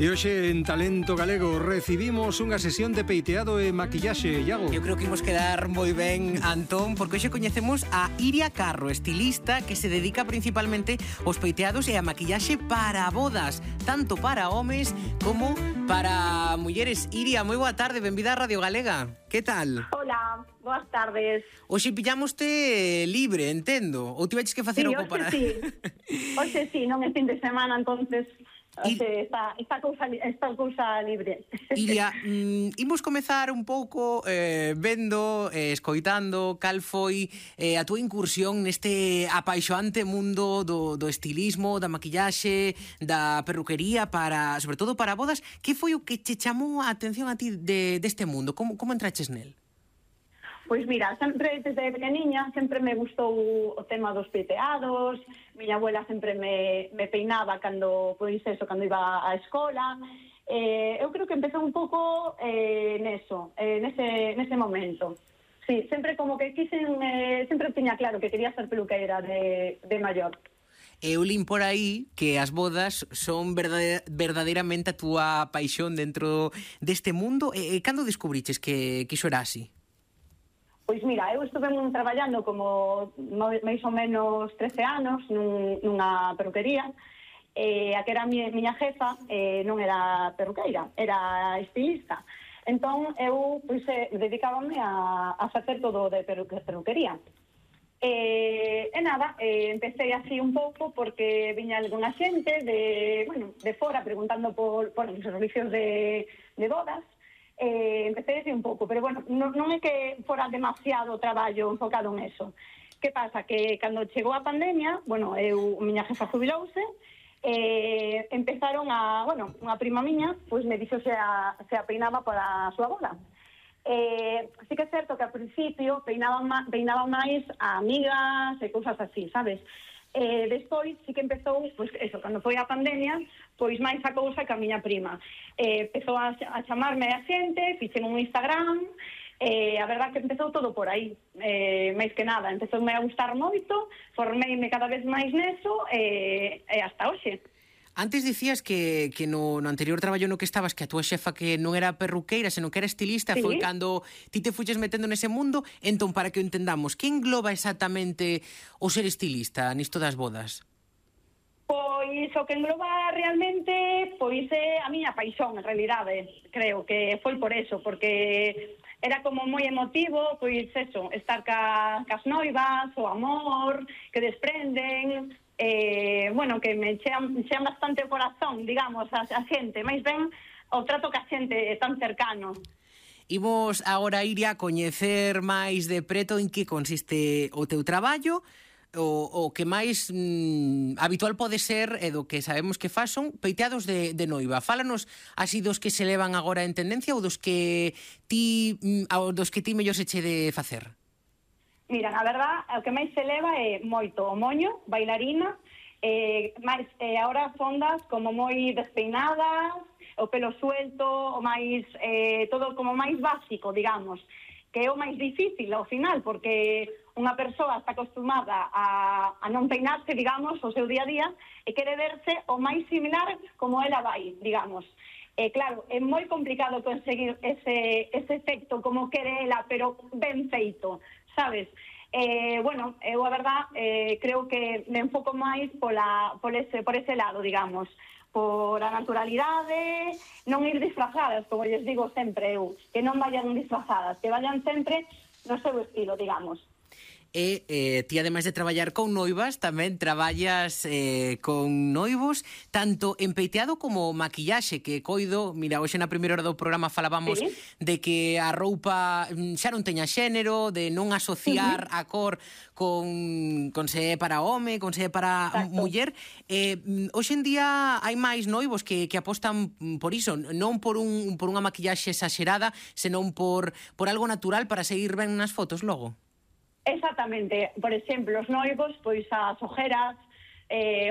E hoxe en Talento Galego recibimos unha sesión de peiteado e maquillaxe, Iago. Eu creo que imos quedar moi ben, Antón, porque hoxe coñecemos a Iria Carro, estilista que se dedica principalmente aos peiteados e a maquillaxe para bodas, tanto para homes como para mulleres. Iria, moi boa tarde, benvida a Radio Galega. Que tal? Hola, boas tardes. Hoxe pillámoste libre, entendo? Ou tiveches que facer algo para... Hoxe sí, non é fin de semana, entonces esta cousa libre. Iria, imos comezar un pouco vendo, escoitando cal foi a túa incursión neste apaixoante mundo do estilismo, da maquillaxe, da perruquería, sobre todo para bodas. Que foi o que che chamou a atención a ti deste mundo? Como entraches nel? Pois mira, sempre desde pequeniña sempre me gustou o tema dos peiteados. Miña abuela sempre me peinaba cando iba á escola. Eu creo que empezou un pouco nese momento. Sí, sempre como que sempre tiña claro que quería ser peluqueira de maior. Eu lín por aí que as bodas son verdadeiramente a túa paixón dentro deste mundo. Cando descubriches que iso era así? Pois mira, eu estuve traballando como máis ou menos 13 anos nunha perruquería. A que era a miña jefa non era perruqueira, era estilista. Entón eu dedicábame a facer todo de perruquería. Empecé así un pouco porque viña algunha xente de fora preguntando por os servicios de bodas. Empecé así un pouco, pero bueno, non é que fora demasiado traballo enfocado en eso. Que pasa? Que cando chegou a pandemia, miña jefa jubilouse, empezaron unha prima miña, pois me dixo se a peinaba para a súa boda. Sí que é certo que ao principio peinaban máis a amigas e cousas así, sabes? Despois sí que empezou, cando foi a pandemia, pois máis a cousa que a miña prima. Empezou a chamarme a xente, fixen un Instagram, a verdad que empezou todo por aí, máis que nada. Empezoume a gustar moito, formeime cada vez máis neso, e hasta hoxe. Antes dicías que no anterior traballo no que estabas, que a túa xefa que non era perruqueira, senón que era estilista, sí. Foi cando ti te fuches metendo nese mundo. Entón, para que o entendamos, que engloba exactamente o ser estilista nisto das bodas? Pois o que engloba realmente é a miña paixón, en realidade. Creo que foi por eso, porque era como moi emotivo, estar cas noivas, o amor que desprenden, que me chean bastante o corazón, digamos, a xente, máis ben o trato que a xente tan cercano. Imos agora, Iria, a coñecer máis de preto en que consiste o teu traballo. O que máis habitual pode ser e do que sabemos que fas son peiteados de noiva. Fálanos así dos que se levan agora en tendencia ou dos que ti mellor se che de facer. Mira, na verdad, o que máis se leva é moito o moño, bailarina, agora fondas como moi despeinadas, o pelo suelto, o máis todo como máis básico, digamos, que é o máis difícil ao final, porque unha persoa está acostumada a non peinarse, digamos, o seu día a día, e quere verse o máis similar como ela vai, digamos. Claro, é moi complicado conseguir ese efecto como quere ela, pero ben feito, sabes? Eu a verdad creo que me enfoco máis por ese lado, digamos, por a naturalidade, non ir disfrazadas, como lles digo sempre eu, que non vayan disfrazadas, que vayan sempre no seu estilo, digamos. Ti, ademais de traballar con noivas, tamén traballas con noivos, tanto en peiteado como maquillaxe, que coido, mira, hoxe na primeira hora do programa falábamos de que a roupa xa non teña xénero, de non asociar a cor con se é para home, con se é para muller. Hoxe en día hai máis noivos que apostan por iso, non por unha maquillaxe exagerada, senón por algo natural para seguir ben nas fotos logo. Exactamente, por exemplo, os noivos, as ojeras,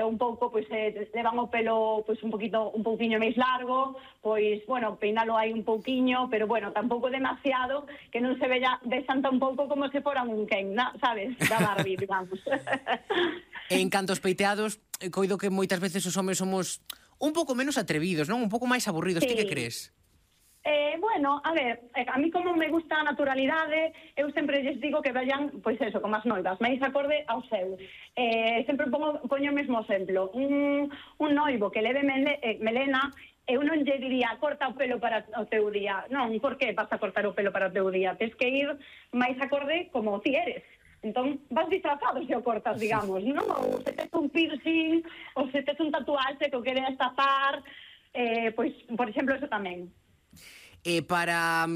un pouco, levan o pelo, un pouquiño máis largo, peinalo aí un pouquiño, pero tampouco demasiado, que non se vexan tan pouco como se foran un Ken, sabes, da Barbie, digamos. En canto aos peiteados, coido que moitas veces os homes somos un pouco menos atrevidos, non? Un pouco máis aburridos, ti que crees? Bueno, a ver, a mí como me gusta a naturalidade, eu sempre lles digo que vayan, pois eso, como as noivas, máis acorde ao seu. Sempre poño o mesmo exemplo. Un noivo que leve melena, eu non lle diría corta o pelo para o teu día. Non, por que vas a cortar o pelo para o teu día? Tens que ir máis acorde como ti eres. Entón, vas disfrazado se o cortas, digamos, non? Ou se tes un piercing, ou se tes un tatuaxe que o queres tapar, pois, por exemplo, eso tamén. Para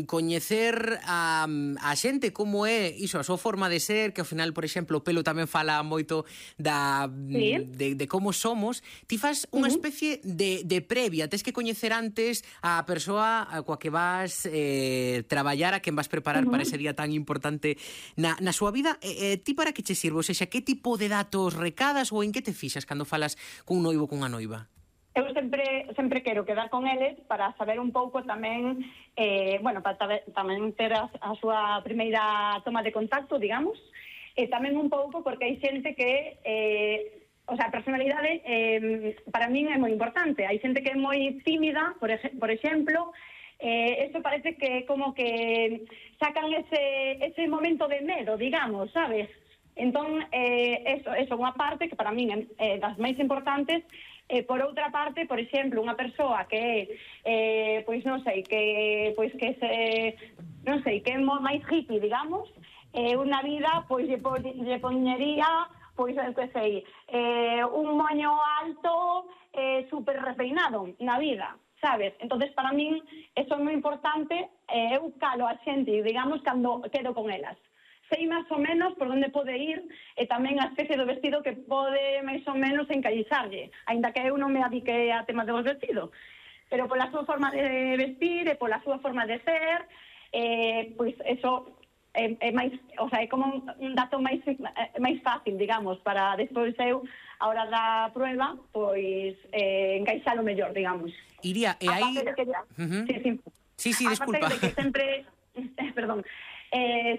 coñecer a xente como é iso, a súa forma de ser, que ao final, por exemplo, o pelo tamén fala moito de como somos, ti fas unha especie de previa, tes que coñecer antes a persoa coa que vas traballar, a quen vas preparar para ese día tan importante na súa vida. Ti para que che sirve? Ou seja, que tipo de datos recadas ou en que te fixas cando falas cun noivo ou cunha noiva? Eu sempre quero quedar con eles para saber un pouco tamén, para tamén ter a súa primeira toma de contacto, digamos, e tamén un pouco porque hai xente que, a personalidade para min é moi importante. Hai xente que é moi tímida, por exemplo, eso parece que como que sacan ese momento de medo, digamos, sabes? Entón, eso unha parte que para min é das máis importantes. Por outra parte, por exemplo, unha persoa que é, que é máis hippie, digamos, unha vida, lle poñería, un moño alto, super repeinado na vida, sabes? Entonces, para min, eso é moi importante, eu calo a xente, digamos, cando quedo con elas. Sei máis ou menos por onde pode ir e tamén a especie do vestido que pode máis ou menos encaixarlle, aínda que eu non me adique a tema dos vestidos. Pero pola súa forma de vestir e pola súa forma de ser, pois eso é máis, é como un dato máis fácil, digamos, para despois eu, a hora da prueba, pois encaixalo mellor, digamos. Iria, e aí... Sí, disculpa. Aparte de que sempre... Perdón.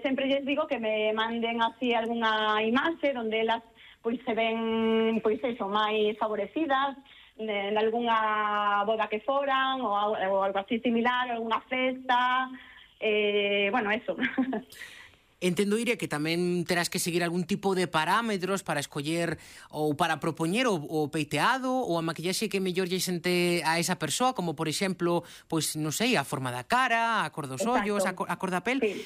Sempre lles digo que me manden así algunha imaxe onde elas pois se ven máis favorecidas en algunha boda que foran ou algo así similar, algunha festa, eso. Entendo, Iria, que tamén terás que seguir algún tipo de parámetros para escoller ou para propoñer o peiteado ou a maquillaxe que mellor lle xente a esa persoa, como, por exemplo, pois, non sei, a forma da cara, a cor dos ollos, a cor da pel. Sí.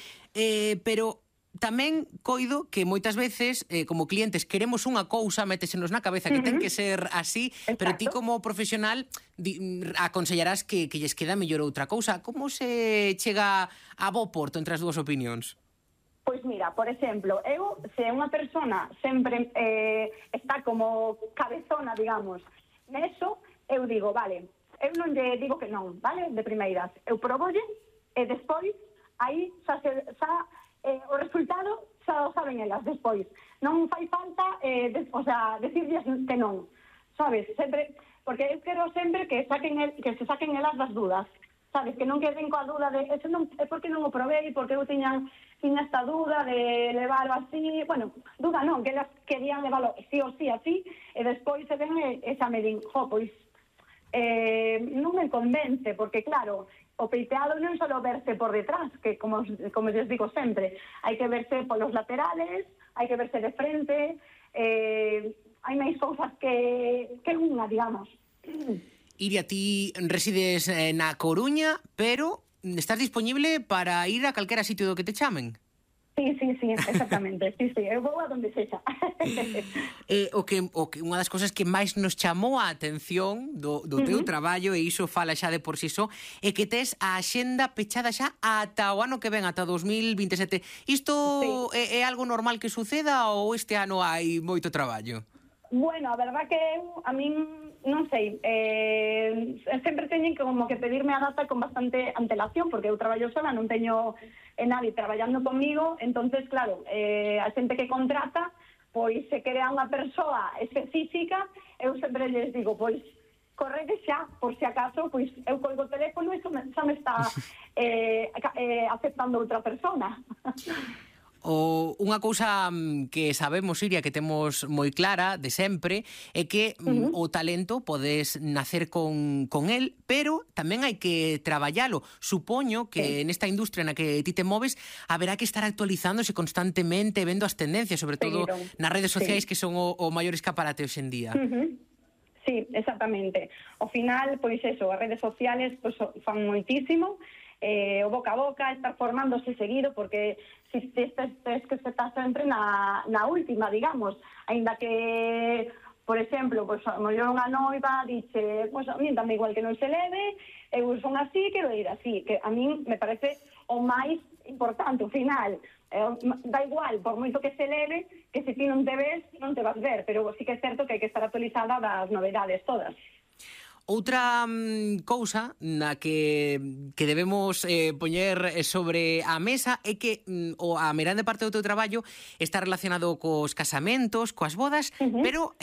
Pero tamén coido que moitas veces, como clientes, queremos unha cousa, métesenos na cabeza que ten que ser así, pero ti como profesional aconsellarás que lles queda mellor outra cousa. Como se chega a bo porto entre as dúas opinións? Pois mira, por exemplo, se unha persona sempre está como cabezona, digamos, neso, eu digo, vale, eu non lle digo que non, vale, de primeiras, eu probolle e despois, aí, o resultado xa o saben elas despois. Non fai falta, decirles que non, sabes, sempre, porque eu quero sempre que se saquen elas das dudas. Sabes, que non queden coa dúda de eso non é porque non o probei, porque eu tiña esta dúda de leválo así, dúda non, que elas querían leválo sí ou sí así, e despois se ven esa me din, pois non me convence, porque claro, o peiteado non só verse por detrás, que como les digo sempre, hai que verse polos laterales, hai que verse de frente, hai máis cousas que unha, digamos. Iria, ti resides na Coruña, pero estás disponible para ir a calquera sitio do que te chamen? Sí, exactamente. Sí, eu vou a donde sexa. O que unha das cousas que máis nos chamou a atención do teu traballo, e iso fala xa de por si só, é que tes a axenda pechada xa ata o ano que ven, ata 2027. Isto é algo normal que suceda ou este ano hai moito traballo? Bueno, a verdad que a min non sei, sempre teñen como que pedirme a data con bastante antelación, porque eu traballo sola, non teño nadie traballando comigo, entonces claro, a xente que contrata, pois se quere a unha persoa específica, eu sempre lles digo, pois correde xa, por si acaso, pois eu colgo o teléfono e xa me está aceptando outra persona. Unha cousa que sabemos, Iria, que temos moi clara de sempre, é que o talento podes nacer con el, pero tamén hai que traballalo. Supoño que nesta industria na que ti te moves haberá que estar actualizándose constantemente, vendo as tendencias, sobre todo nas redes sociais, que son o maior escaparate hoxe en día. Sí, exactamente. Ao final, pois eso, as redes sociales pois, fan moitísimo, o boca a boca, estar formándose seguido, porque si estás que estás sempre na última, digamos, aínda que, por exemplo, pues, a mellor unha noiva dice, pues, a mí dame igual que non se leve, eu son así, quero ir así, que a mí me parece o máis importante, ao final, da igual, por moito que se leve, que se ti non te ves, non te vas ver, pero sí que é certo que hai que estar actualizada das novedades todas. Outra cousa na que debemos poñer sobre a mesa é que a grande parte do teu traballo está relacionado cos casamentos, coas bodas, pero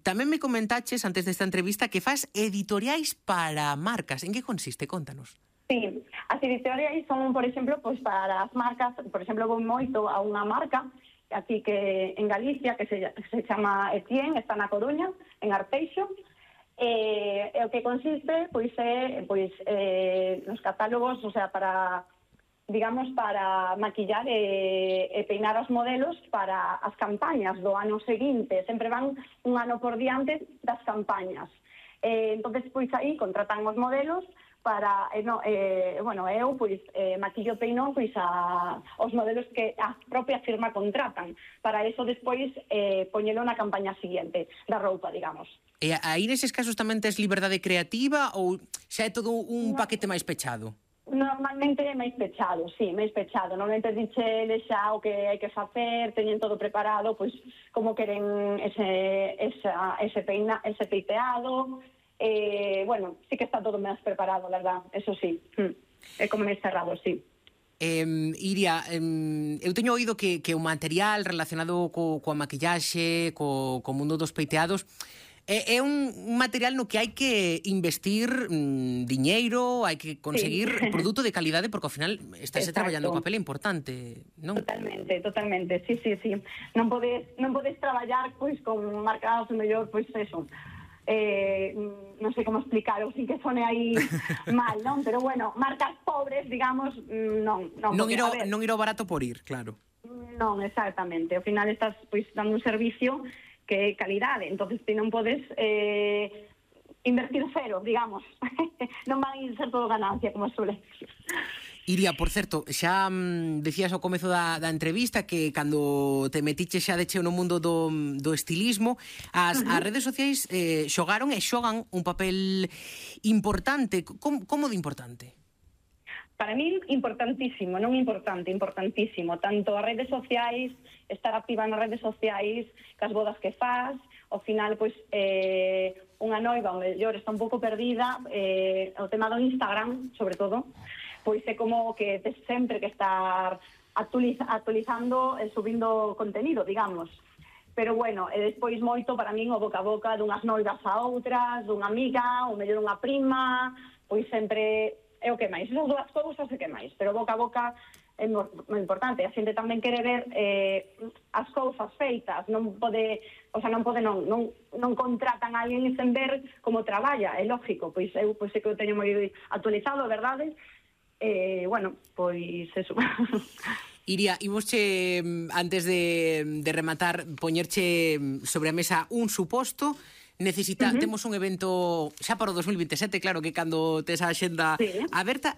tamén me comentaches antes desta entrevista que fas editoriais para marcas. En que consiste? Contanos. Sí, as editoriais son, por exemplo, pues, para as marcas, por exemplo, vou moito a unha marca aquí que en Galicia que se chama Etienne, está na Coruña, en Arteixo. O que consiste pois é nos catálogos, o sea, para digamos para maquillar e peinar os modelos para as campañas do ano seguinte, sempre van un ano por diante das campañas. Entonces pois aí contratan os modelos para eu pois maquillo peino pois os modelos que a propia firma contratan, para eso despois poñelo na campaña seguinte da roupa, digamos. E aí neses casos tamén tes liberdade creativa ou xa é todo un paquete máis pechado? Normalmente é máis pechado, sí, máis pechado. Normalmente dicheles xa o que hai que facer, teñen todo preparado, pois como queren ese peiteado. Bueno, sí que está todo máis preparado, verdad, eso sí. É como máis cerrado, sí. Iria, eu teño oído que o material relacionado coa maquillaxe, co mundo dos peiteados, é un material no que hai que investir diñeiro, hai que conseguir produto de calidade, porque ao final estás traballando un papel importante, non? Totalmente, sí. Non podes traballar pois con marcas mellor, pois eso. Non sei como explicarlo sin que sone aí mal, non? Pero bueno, marcas pobres, digamos, non. Non ir ao barato por ir, claro. Non, exactamente. Ao final estás pois dando un servicio que é calidade, entonces ti non podes invertir cero, digamos. Non van a ser todo ganancia, como suele decir. Iria, por certo, xa decías ao comezo da entrevista que cando te metiche xa de cheo no mundo do estilismo, as redes sociais xogaron e xogan un papel importante. Como de importante? Para mí, importantísimo, non importante, importantísimo. Tanto as redes sociais, estar activa nas redes sociais, cas bodas que faz, ao final, pois, unha noiva, o mellor, está un pouco perdida, o tema do Instagram, sobre todo, pois é como que tes sempre que estar actualizando e subindo contenido, digamos. Pero bueno, e despois moito para min o boca a boca dunhas noivas a outras, dunha amiga, ou mellor unha prima, pois sempre é o que máis. Esas dúas cousas é que máis, pero boca a boca é moi importante. A xente tamén quere ver as cousas feitas, non contratan a alguén sen ver como traballa, é lógico, pois eu sei que eu teño moi actualizado, verdade? Bueno, pois eso. Iria, imosche, antes de rematar, poñerche sobre a mesa un suposto. Temos un evento xa para o 2027, claro que cando tes a axenda aberta,